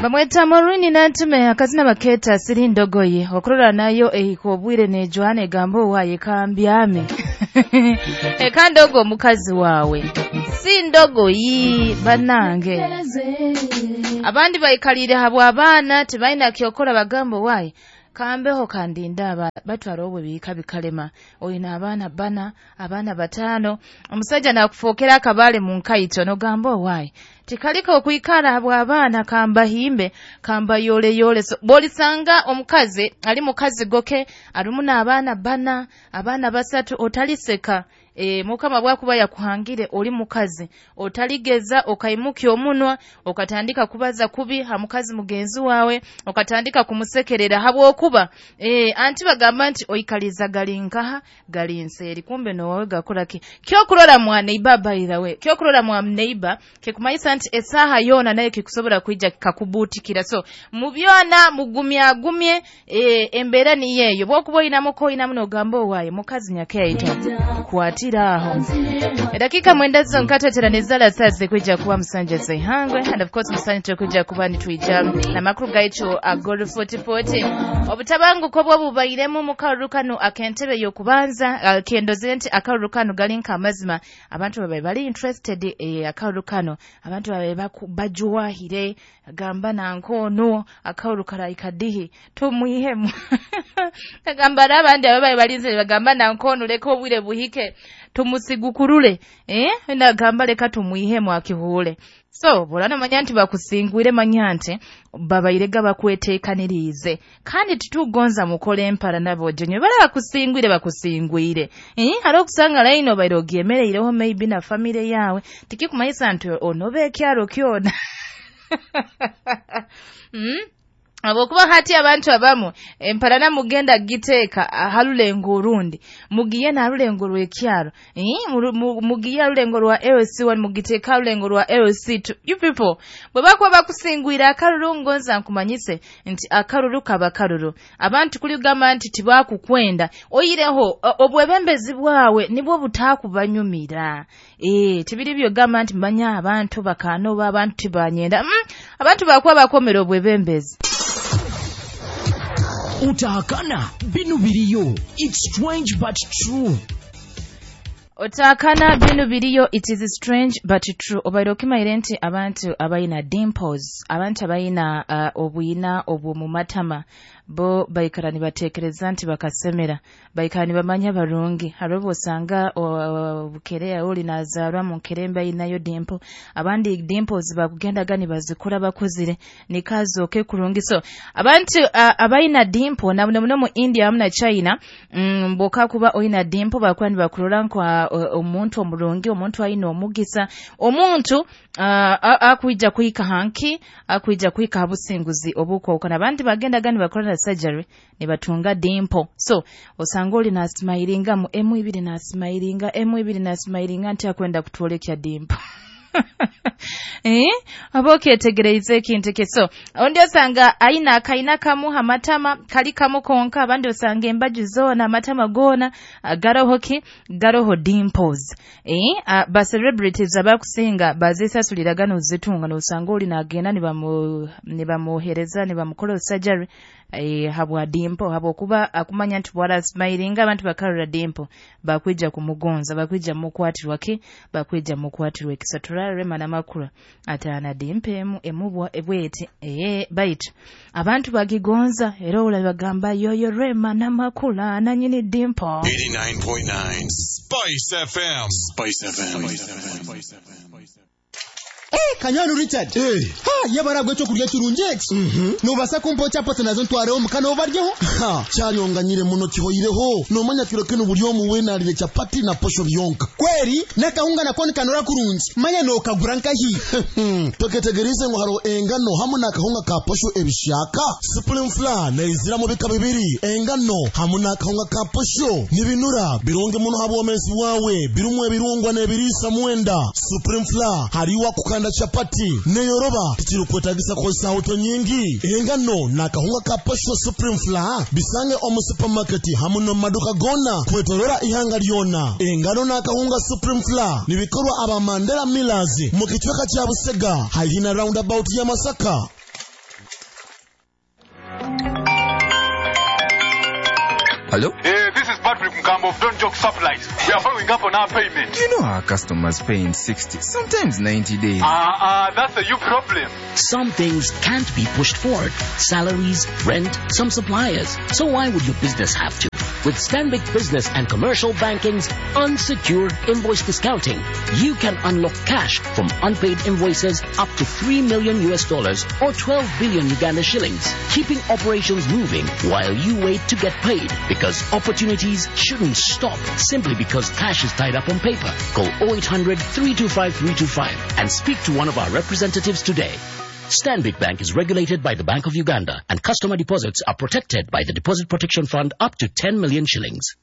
Bamweta Morini Nantume akazina baketa siri ndogoyi okurora nayo ehika obwire nejwana egamba owaye kambyame eka ndogo mukazi wawe si ndogoyi banange. Abandi baikalire habwa abaana tibaina kyokora bagamba owaye kambeho kandinda batwara obwe bika bikalema oyina abaana bana abaana batano omusajja nakufokera akabale mu nkaito nogamba owaye tikalika okuikara habwa abaana kamba himbe kamba yole yole. So, bolisanga omukazi ali mukazi goke arumu n'abaana bana abaana basatu otaliseka. Mukama bwakuba yakuhangire oli mukazi otaligeza okaimuki omunwa okatandika kubaza kubi ha mukazi mugenzi wawe okatandika kumusekerera habwokuba anti bagamba nti oikaliza galinkaha galinseri kumbe nowawe gakora ki kyokurora mwa neighbor by the way kyokurora mwa neighbor kikumayisa nti esaha yona naye kikusobora kuija kikakubutikira. So mubyona mugumyagumye embera ni yeyo bwokuba oyinamuko oyinamu nogamba owaye mukazi nyakeito kwatiraho. Dakika mwendazo nkatetera nezala sazi kuja kuwa msanje zihangwe and of course msanje kuja kuba nitwija na makuru gaicho agoro 4040 obutabangu ko bwabubairemu mukarukano akentebe yokubanza kendoze nti akarukano galinka amazima abantu babaye bali interested akarukano abantu babaye bajuwahire gamba nankono akarukara ikadihi tumwihemu gamba abandi ababaye balinze bagamba nankono leka obwire buhike tumusigukurule nagamba leka tumwihemu akihule. So bolana manya nti bakusingwire manya nti babairega bakweteekanirize kandi titugonza mukole empara nabo jenye bala bakusingwire bakusingwire hali okusanga line obaire ogyemereireho maybe na family yawe tikikumanyisa nti onobe ekyaro kyona. Abokuba hati abantu abamu emparana mugenda giteka halulengo orundi mugiye na halulengo rw'ekyaro mugiye halulengo rwa LC1 mugiteka halulengo rwa LC2. You people bwe bakuba bakusingwira akaruru ngonza nkumanyise nti akaruru kaba karuru abantu kuligamba nti tibakukwenda oyireho obwebembezi bwawe nibwo butakubanyumira tibiri byo gamba nti manya abantu bakanoba abantu tibanyenda abantu bakuba bakomera obwebembezi. Utahakana binu biriyo. It's strange but true. Otakana binu biriyo. It is strange but true. Obaire okimaire nti abantu abayina dimples, abantu abayina obwina obwo mu matama bo baikara nibatekereza nti bakasemera baikara nibamanya barungi haribo osanga bukerea oli nazarwa mu nkerembe ayinayo dimple abandi dimples bakugendaga nibazikora bakuzire nikazoke kurungi. So abantu abayina dimple na muno mu India hamwe na China mboka kuba oyina dimple bakuba nibakurora nka omuntu omurungi omuntu ayina omugisa omuntu akuija kuika hanki akuija kuika habusinguzi obukwokana abandi bagendaga nibakora surgery nibatunga dimple. So osanga oli nasmailinga mu emu ibiri nasmailinga emu ibiri nasmailinga nti akwenda kutwolekya dimple. Aboke tegereize ekintu so ondi osanga aina akaina kamu hamatama kali kamu konka abandi osanga embaju zona amatama gona garoho ki garoho dimples. Ba celebrities abakusinga bazisasulira gano zitunga nosanga oli nagenda nibamuhereza nibamukola surgery habwa dimple habwokuba akumanya nti bwala smilinga abantu bakarora dimple bakwija kumugonza bakwija mukwatirwa ki bakwija mukwatirwa ekisatura Rema Namakula atana dimple emubwa ebwete baitu abantu bagigonza era ola bagamba yoyo Rema Namakula nanyini dimple. 89.9 Spice FM. Spice FM. Spice FM. Kanyanu Richard. Ha, yabara gwecho kurya kirungi eki. Nobasa kumpa chapati nazo ntwareho mukana obaryeho. Ha, kyanyonganyire muno kihoireho. Nomanya kiro kino buli omu wenalire chapati na posho byonka. Kweri nakahunga nako nikanora kurungi. Manya nokagura nkahi. Toketegerize ngo haro engano hamu nakahunga ka posho ebishaka. Supreme Flour neizira mu bika bibiri. Engano hamu nakahunga ka posho. Nibinura birungi muno habwomezi bwawe. Birumwe ebirungwa n'ebiriisa mwenda. Supreme Flour hariwa kukana kukanda chapati neyoroba, tikirukwetagisa kukozesa auto nyingi. Engano n'akahunga ka posho Supreme Flour bisange omu supermarket hamu n'omu maduka gona kwetorora ihanga lyona. Engano n'akahunga Supreme Flour nibikorwa aba Mandela Millers mu kicweka kya Busega haihi na roundabout ya Masaka. Hello? This is Patrick Mkambo of Don't Joke Supplies. We are following up on our payment. You know our customers pay in 60, sometimes 90 days. That's a you problem. Some things can't be pushed forward. Salaries, rent, some suppliers. So why would your business have to? With Stanbic Business and Commercial Banking's unsecured invoice discounting, you can unlock cash from unpaid invoices up to 3 million US dollars or 12 billion Uganda shillings, keeping operations moving while you wait to get paid, because opportunities shouldn't stop simply because cash is tied up on paper. Call 0800 325 325 and speak to one of our representatives today. Stanbic Bank is regulated by the Bank of Uganda, and customer deposits are protected by the Deposit Protection Fund up to 10 million shillings.